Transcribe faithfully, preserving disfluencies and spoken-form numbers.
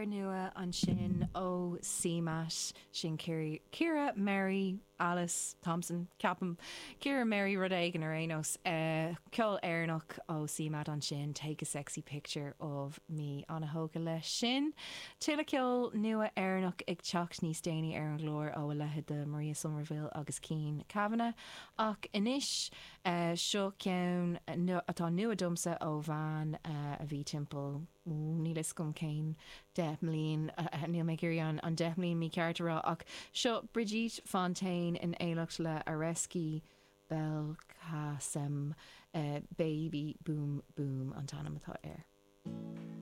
Cur nua ansin ó CMAT sin Ciara Mary Alice Thompson ceapaim Ciara Mary rud éigin ar aon nós uh, ceol Éireannach ó CMAT ansin take a sexy picture of me an-tógtha leis sin. Tuilleadh ceol nua Éireannach ag teacht níos déanaí ar an gclár ó a leithéid de Maria Somerville agus Cian Kavanagh ach anois uh, seo ceann atá nua domsa ó bhean uh, a bhí timpeall níl a fhios agam cén deich mbliain níl mé an an deich mbliain mícheart rá ach seo Brigitte Fontaine in éineacht le Areski Belkacem uh, baby boom boom an t-ainm atá air.